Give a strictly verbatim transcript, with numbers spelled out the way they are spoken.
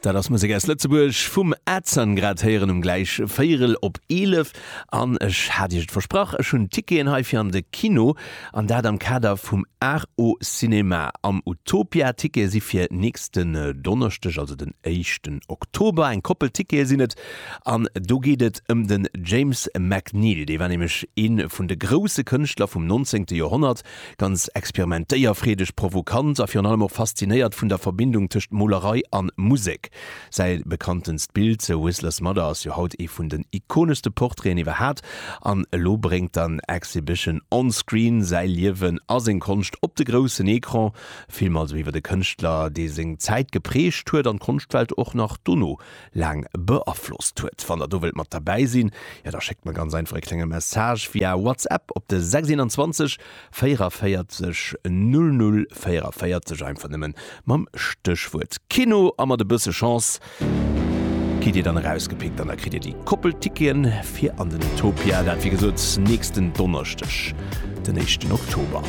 Dat ass Musek aus Lëtzebuerg vum Edson, grad héieren um gläich véierel op eelef. An ech hat Iech et versprach, ech hunn Ticketen hei fir an de Kino, an dat am Kader vum Art au Cinéma am Utopia. Tickete si fir nächsten Donneschdeg, also den éischten Oktober. Eng Koppel Tickete sinn et. An do geet et ëm den James McNeill. Dee war nämlech ee vun de grousse Kënschtler vum nonzéngte Joerhonnert. Ganz experimentéierfreedeg, provokant a virun allem och faszinéiert vun der Verbindung tëscht Molerei an Musek. Säi bekanntenst Bild, The Whistler's Mother, ass jo haut ee vun den ikoneschste Portraiten iwwerhaat. An elo bréngt dann Exhibition on Screen säi Liewen a seng Konscht op de groussen Ecran. Film also iwwer de Kënschtler, dee seng Zäit geprägt huet an d'Konschtwelt och nach dono laang beaflosst huet. Wann der do wëllt mat derbäi sinn, jo da schéckt mer ganz einfach e klenge Message via WhatsApp op de sechs einundzwanzeg véierundvéierzeg null null véierundvéierzeg, einfach nëmmen mam Stéchwuert Kino, a mat e bësse Chance gitt dir dann erausgepickt an da kritt dir déi Koppelticketen fir an den Utopia, dat wéi gesot nächsten Donneschdeg, den éischten Oktober.